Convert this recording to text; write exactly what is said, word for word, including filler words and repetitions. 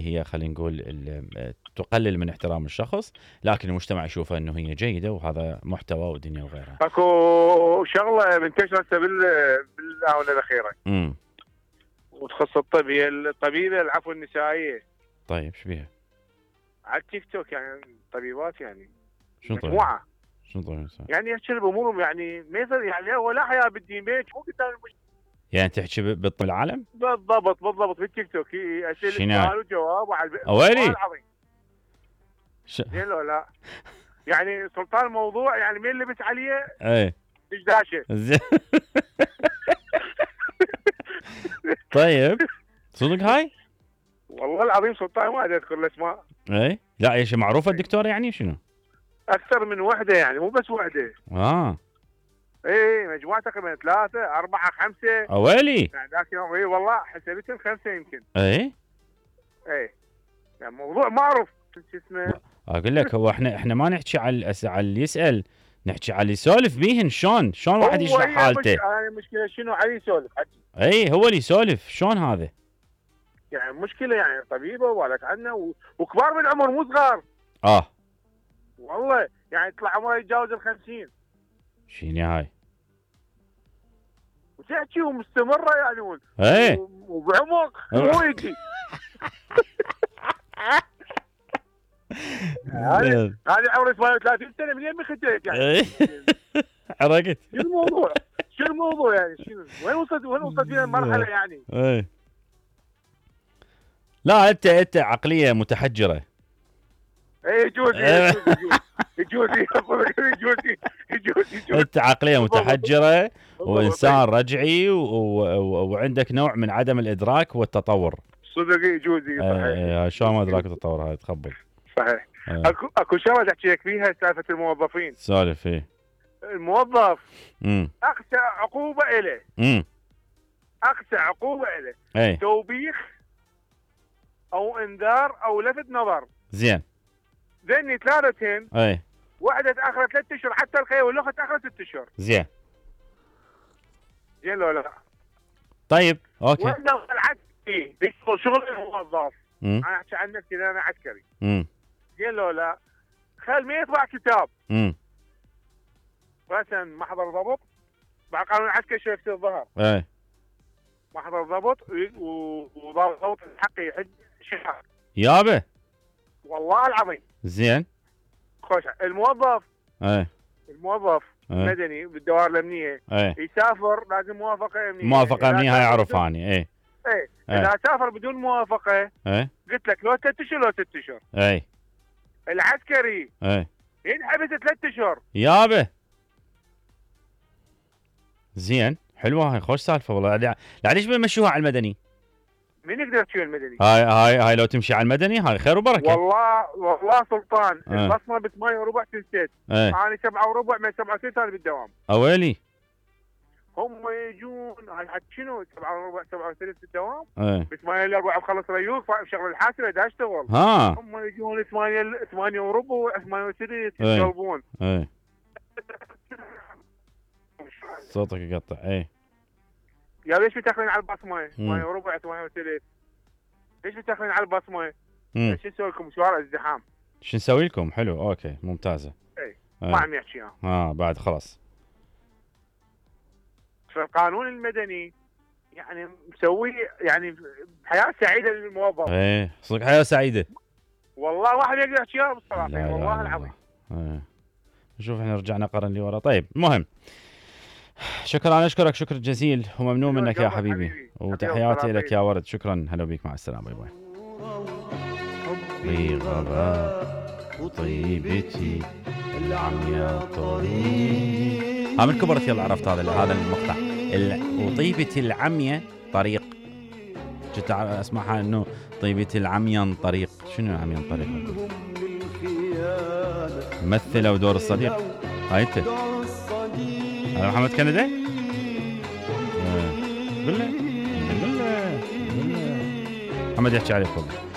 اللي هي خلينا نقول تقلل من احترام الشخص، لكن المجتمع يشوفها انه هي جيده وهذا محتوى ودنيا وغيرها. اكو شغله منتشره بالاونه الاخيره امم وتخص الطب، هي الطبيبه العفو النسائيه. طيب ايش بيها؟ على التيك توك يعني طبيبات يعني شنو طيب؟ مجموعه شنو طيب؟ يعني يحكي بامورهم يعني ما يصير يعني هو لا حياه بالدين بيت مو قدام المجتمع. يعني تحكي بالطب العالم؟ بالضبط بالضبط بالتيك توك اسئله سؤال وجواب وعلى اويلي العظيم. ش... زين لو لا يعني سلطان الموضوع يعني مين لبس عليه؟ ايه دشداشه. زين طيب صدق هاي؟ والله العظيم سلطان ما ادري اذكر الاسماء. ايه لا ايش معروفه الدكتوره يعني شنو؟ اكثر من وحده يعني مو بس وحده. اه ايه مجموعه تقريبا ثلاثه اربعه خمسه. اويلي يعني ذاك يوم اي والله حسبتهم خمسه يمكن. ايه ايه يعني موضوع معروف شو اسمه. اقول لك هو احنا احنا ما نحكي على على اللي يسال، نحكي على اللي يسولف بيهن. شلون شلون واحد يشرح حالته؟ هاي المشكله شنو علي يسولف حكي. اي هو اللي يسولف شلون هذا؟ يعني مشكله يعني طبيبه وبالك عنا و... وكبار بالعمر مو صغار. اه والله يعني يطلع عمره يتجاوز الخمسين. شيني هاي؟ وتحكي ومستمره يعني و... ايه وبعمق مو يجي. هذه هذه عمري ثمانية وثلاثين سنه منين ما خديت يعني. حركت. شو الموضوع؟ شو الموضوع يعني شنو؟ وين وصلت وين وصلت بينا المرحله يعني؟ ايه لا انت انت عقليه متحجره. ايه يجوز يجوز يجوز يجوز يجوز يجوز انت عقليه متحجره وانسان رجعي وعندك نوع من عدم الادراك والتطور. صدق يجوز صحيح. ايه شلون ما ادراك التطور هاي تخبل. صحيح. ايه. اكو اكو شغله احكي لك فيها سالفه الموظفين. سالف ايه. الموظف امم اقسى عقوبه له. امم اقسى عقوبه له. ايه. توبيخ او انذار او لفت نظر. زين. ذني ثلاثتين. ايه. واحده تاخرت ثلاث اشهر حتى الخير والاخت تاخرت ست اشهر. زين. زين لو لا. طيب اوكي. وانا العسكري بيشتغل شغل الموظف. امم انا احكي عن نفسي انا عسكري. امم زين لو لا. خل ما يطبع كتاب. امم مثلا محضر ضبط مع قانون العسكري شركه الظهر. ايه. محضر ضبط وضبط الحق يحج شهر. يابا والله العظيم. زين. خوش الموظف. ايه. الموظف ايه. مدني بالدوائر الامنيه. ايه. يسافر لازم موافقه امنيه. موافقه امنيه هاي اعرفها اني. ايه. ايه. اذا سافر بدون موافقه. ايه. قلت لك لو ثلاث اشهر لو ست اشهر. ايه. العسكري. ايه. ينحبس ثلاث اشهر. يابا. زين حلوه هاي خوش سالفه والله. لا ليش بنمشوها على المدني؟ مين يقدر يمشي المدني؟ هاي هاي هاي لو تمشي على المدني هاي خير وبركه. والله والله سلطان اه. البصمه ب ثمانية وربع تنسيت. ايه. انا سبعة وربع من سبعة وثلاثين انا بالدوام. اويلي. هم يجون هاي حق شنو سبعة وربع سبعة وثلاثين بالدوام؟ ايه. ب ثمانية الا ربع بخلص ريوق بشغل الحاسبه دا اشتغل. ها. هم يجون ثمانية ثمانية وربع ثمانية وثلاثين ايه. يقلبون. ايه. صوتك يقطع. ايه. يا ليش بتاخذين على البصمه؟ ثمانية وربع ثمانية وثلاثين. ليش بتاخذين على البصمه؟ شو نسوي لكم شوارع ازدحام؟ شو نسوي لكم؟ حلو اوكي ممتازه. اي ما عم يحكي ها. اه بعد خلاص. فالقانون المدني يعني مسوي يعني حياه سعيده للموظف. ايه صدق حياه سعيده. والله واحد يقدر يحكيها بالصراحه والله لا العظيم. ايه. شوف احنا رجعنا قرن لورا. طيب المهم شكرا انا اشكرك شكر جزيل وممنون منك يا حبيبي, حبيبي. وتحياتي لك يا ورد. شكرا هلا بيك مع السلامه. باي باي. بغباء وطيبتي العمياء طريق. ها من كبرت يلا عرفت هذا هذا المقطع. وطيبتي العمياء طريق. كنت اسمعها انه طيبتي العمياء طريق. شنو العمياء طريق؟ ممثله ودور الصديق. هاي انت هذا محمد كندي. قل له قل له محمد يحكي عليك والله.